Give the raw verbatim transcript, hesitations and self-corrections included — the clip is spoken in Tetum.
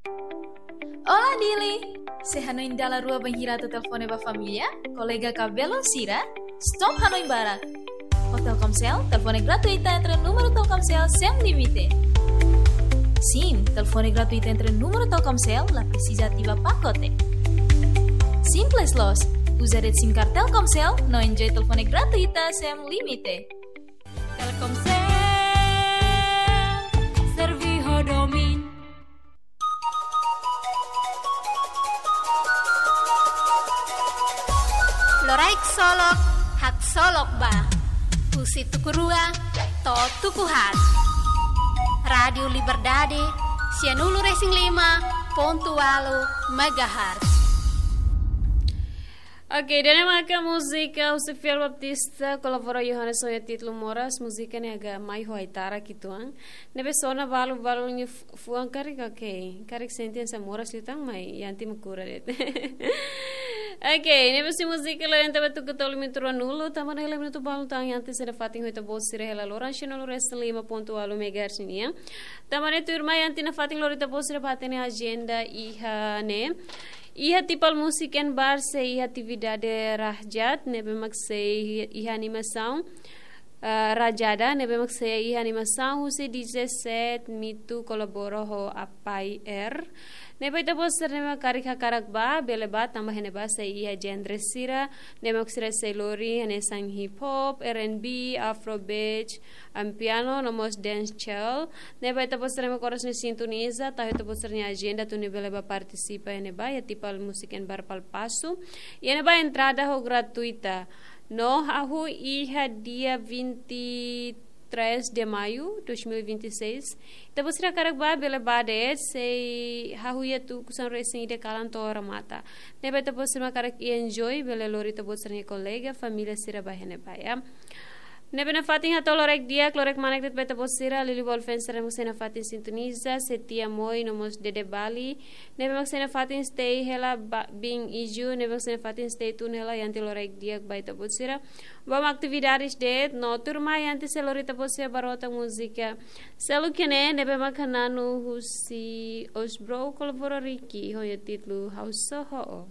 Olá, Dili! Sé hanoin dala rua bainhira atu telefone ba família, kolega ka belun sira? Stop hanoin barak! Ho Telkomsel, telefone gratuita entre númeru Telkomsel sem limite. Sim, telefone gratuita entre númeru Telkomsel, la presiza ativa pakote. Simples loos, uza de'it SIM card Telkomsel, no enjoy telefone gratuita sem limite. Telkomsel, serve ho domin. Loraik solok, haksolok ba. Husi tuku rua to'o tuku haat. Rádiu Liberdade, sianulu resin lima pontu ualu megahertz. Oke, ida-ne'e maka múzika husi Fiel Baptista, kolabora Johannes ho nia títulu Moras, múzika ne'e agak mai ho aitara kituan. Ne'ebé sona balu-balu nia fu-, fuan karik, oke. Karik sente hanesan moras liután, mai Yanti mak kura de'it. Oke, ne'ebé husi múzika lori ita ba tuku tolu minutu ruanulu, tanba ne'e hela minutu balu tan Yanti sei nafatin ho ita-boot sira hela loron sianulu resin lima pontu ualu megahertz nian. Tanba ne'e tuirmai Yanti nafatin lori ita-boot sira ba hatene agenda iha ne'e. Iha Tipal Music and Bar sei iha atividade Rajada, ne'ebé mak sei iha animasaun, ah, Rajada, ne'ebé mak sei iha animasaun husi D J Set Mitu kolabora ho Apai Air. Ne'ebé ita-boot sira ne'ebé mak karik hakarak ba, bele ba, tanba iha ne'ebá sei iha genre sira, ne'ebé mak sira sei lori, hanesan hip hop, R and B, afrobeat, amapiano, no mós dancehall. Ne'ebé ita-boot sira ne'ebé mak oras ne'e sintoniza, tau ita-boot sira-nia agenda atu nune'e bele ba partisipa iha ne'ebá, iha Tipal Music and Bar Palpasu. Iha ne'ebá entrada ho gratuita. No hahú iha dia vinte e três de maio dois mil e vinte e seis. Ita-boot sira karik ba bele ba de'it, sei hahú iha tuku sanulu resin ida kalan to'o remata. Ne'ebé ita-boot sira mak karik enjoy, bele lori ita-boot sira-nia kolega, família sira ba iha ne'ebá, ya. Ne'ebé nafatin hato'o loraik di'ak, loraik manek de'it ba ita-boot sira, Lili Bolfen sira mak sei nafatin sintoniza, Setia Moi, no mós Dede Bali. Ne'ebé mak sei nafatin stay hela ba, Bing Iju, ne'ebé mak sei nafatin stay tune hela, Yanti loraik di'ak ba ita-boot sira. Ba atividades de'it, no tuirmai Yanti sei lori ita-boot sira ba rota múzika. Selu kene, ne'ebé mak hananu husi Osbro kolabora Ricky, ho nia títulu Ha'u Só Ho.